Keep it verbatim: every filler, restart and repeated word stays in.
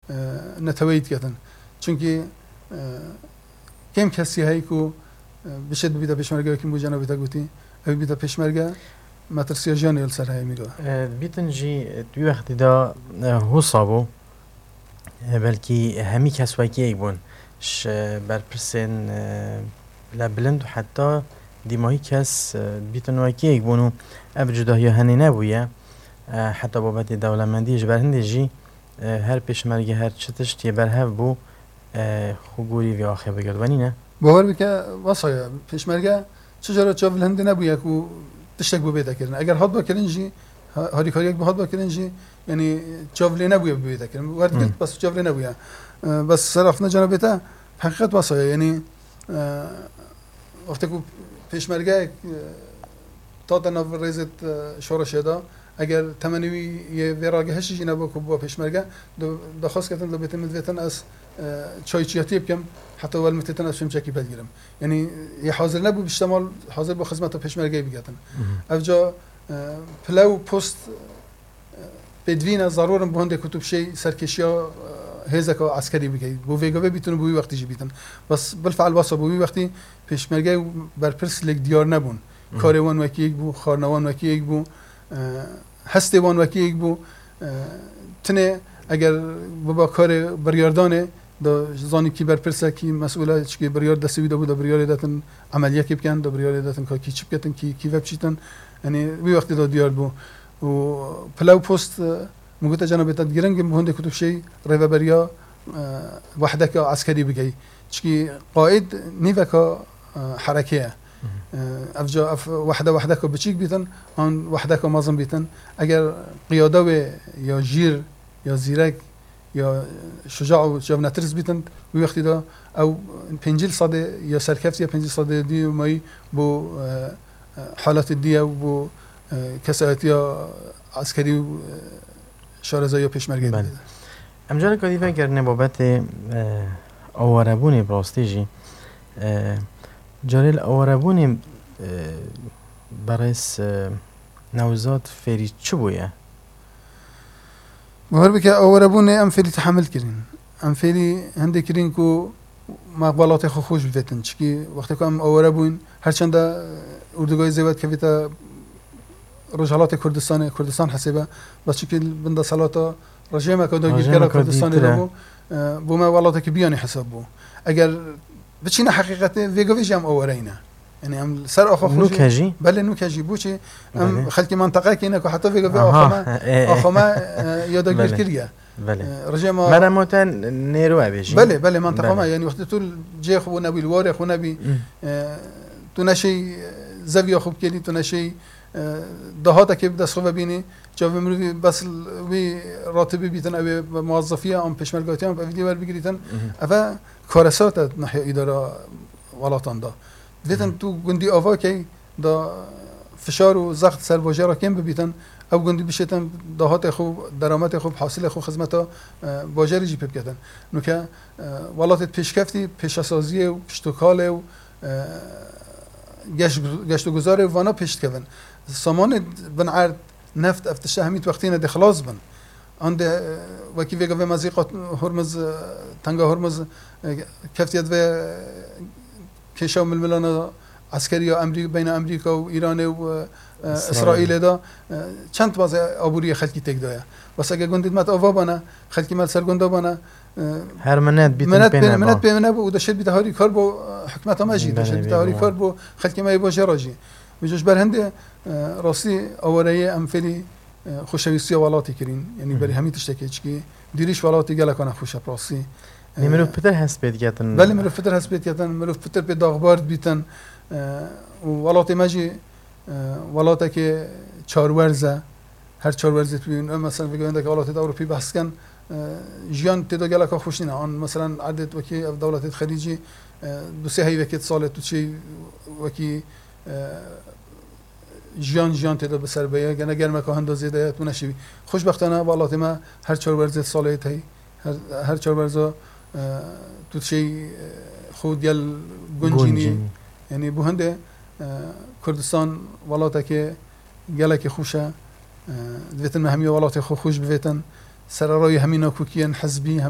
e, neteweyî diketin. Çunkî, e, kêm kesî heye ku, e, bişêt bibîte pêşmergeyekî, bû cenabê te gotî, ew bibîte pêşmerge, metirsiya jiyanê li ser heye mîro. E, dibîtin jî, e, di wî wextî de, e, husa bû. E, belkî hemî kes wekî yek bûn. Ji berpirsên, e, le bilind û heta dîmahî kes, e, dibîtin wekî yek bûn û ev cudahiya henê nebûye. E, heta babetê dewlemendiyê ji ber hindê jî, e, her pêşmerge her çi tişt yê berhev bû, e, xwe gorî vê axê bigirt. Wenî ne? Bawer bike, wesa ye. Pêşmerge çi cara çav li hindê nebûye ku tiştek bû bête kirin. Eger hatba kirin jî, ha-, harîkariyek bû hatba kirin jî, yanî çav lê nebûye bibête kirin. Werdigirt, Hmm. bes çav lê nebûye. E, bes ser axiftina cenabê te, heqîqet wesa ye. Yanî, e, wextê ku pêşmergeyek, e, tate nav rêzê, e, şoreşê de, eger temenê wî yê vê ragihiştî jî nebû ku bû pêşmerge, di-, daxwaz ketin, dibêtin min divêtin ez, e, çayçiyatiyê bikim, heta welmitêtin ez çimçekî belgirim. Yanî yê hazir nebû, bişte mal hazir bû xizmeta pêşmergeyê bigetin. Mhm. Ev ca, e, pile û post, e, pêdivî ne, zarûr in bo hindê ku tu bişêy serkêşiya, e, hêzeka eskerî bikey. Bo vê gavê bîtin û bo wî wextî jî bîtin. Bes bilfe'l wesa bû, wî wextî pêşmerge û berpirs lêk diyar nebûn. Mhm. Karê wan wekî yek bû, xwarina wan wekî yek bû, e, hestê wan wekî yek bû. E, tinê eger biba karê biryardanê, da zanî kî berpirs e, kî mesûl e, çikê biryar destê wî de bû, da biryarê detin emeliyekê bikin, da biryarê detin ka kî çi biketin, kî, kî vepşîtin. Yanî wî wextî da diyar bû. Û pile û post, e, min gote cenabê te, giring in bo hindê ku tu bişêy rêveberiya, e, wehdeka eskerî bikey. Çikî qaîd nîveka, e, herekê ye. Mhm. E, ev ca ev wehde wehdeka biçîk bîtin, an wehdeka mezin bîtin. Eger qiyade wê ya jîr, ya zîrek, ya şuca û çav netirs bîtin, wî wextî de ew pêncî sedê ya serkeftiye, pêncî sedê dî û mayî bo, e, e, halatê dî ye û bo, e, kesayetiya eskerî û, e, şarezayiya pêşmergeyê Belê. dide. Em careka dî vegerine babetê, e, awarebûnê bi rastî jî. E, carê li awarebûnê, e, berêz, e, Newzad fêrî çi bûye? Bawer bike, awarebûnê em fêrî tehemil kirîn. Em fêrî hindê kirîn ku me welatê xwe xweş bivêtin. Çikî wextê ku em aware bûyn, her çende, e, Urdugayê zêwet kevîte Rojhelatê Kurdistanê, Kurdistan hesêbe, bes çikî li bin desthilata rejêmeke dagîrkera Rejêmeke Kurdistanê dîtir de e. bû, e, bo me welatekî biyanî hesab bû. Eger biçîne heqîqetê, vê gavê jî em aware yîne. Yanî em li ser axa xwe jî Nûke jî? Belê, nûke jî. Bo çi? Em Belê. xelkê menteqekê ne ku heta vê gavê Aha, axa me, e, e. axa me, e, ya dagîr Belê. kiriye. Belê. E, rejêma Meremo te nêro e bêjî. Belê, belê, menteqa Belê. me. Yanî wextê tu cihê xwe nebî, li warê xwe nebî, Hmm. e, tu neşey, e, zeviya xwe bikêlî, tu neşey, e, dahatekê bi dest xwe vebînî, çavê mirovî bes wî ratibî bîtin, ew ê bi muwezzefiya an pêşmergatiyan bi evîdî werbigirîtin. Mhm. Ev e karesat e nahiya îdara welatan de. Dêtin Mhm. tu gundî ava key, da fişar û zext ser bajêra kêm bibîtin, ew gundî bişêtin dahatê xwe, derametê xwe, hasilê xwe xizmeta, e, bajarê jî pê biketin. Nuke, e, welatê pêşkeftî, pêşesaziyê û piştokalê û, e, geş-, geştoguzarê vana pêş dikevin. Samanê bin erd, neft, ev tişta hemî wextîne dê xilas bin. An dê, e, wekî vê gavê mezîqa Hormuz, e, tenga Hormuz, e, keftiye divê, e, kêşa û milmilana eskerî ya Emrî-, beyna Emrîka û Îranê û, e, e, Îsraîlê. Îsraîlê de, e, çend bazê aboriyê xelkî têk daye. Bes ege gundê me ava bane, xelkê me li ser gunda bane, e, Her minet bîtin minet pê pê-, neba. minet pê nebû û deşêt bîte harîkar bo, e, hikûmeta me jî, Belê, deşêt bîte bê harîkar bo. bo xelkê me yê bajêra jî. Vê ji ber hindê, e, rastî awareyê em fêrî, e, xoşewîstiya welatê kirîn. Yanî Hı hı. berî hemî tiştekê çikî dîrîş welatê gelekane xweş e, bi rastî. Lê E, mirov pitir hest pê diketin. Belê, mirov pitir hest pê diketin, mirov pitir pê daxbar dibîtin. E, û welatê me jî, e, welatekê çarwerz e. Her çarwerzê tu bîn, em mesela vê gavendeke welatê de Ewropî behs dikin, e, jiyan tê de geleka xweş nîne. An mesela erdê wekî ev dewletê xelîcî, e, du sê heyvekê di salê tu çê wekî, e, jiyan, jiyan tê de bi ser beye. Gene germeka henda zêde ye, tu neşîvî. Xweşbextane welatê me her çarwerzê salê tey, her, her çarwerza, e, tu dişêy, e, xwe gel guncînî. Guncînî. Yanî bo hindê, e, Kurdistan welatekê gelekî xweş e. E, divêtin me hemî welatê xwe xweş bivêtin. Sererayî hemî nakokiyên hizbî, hemî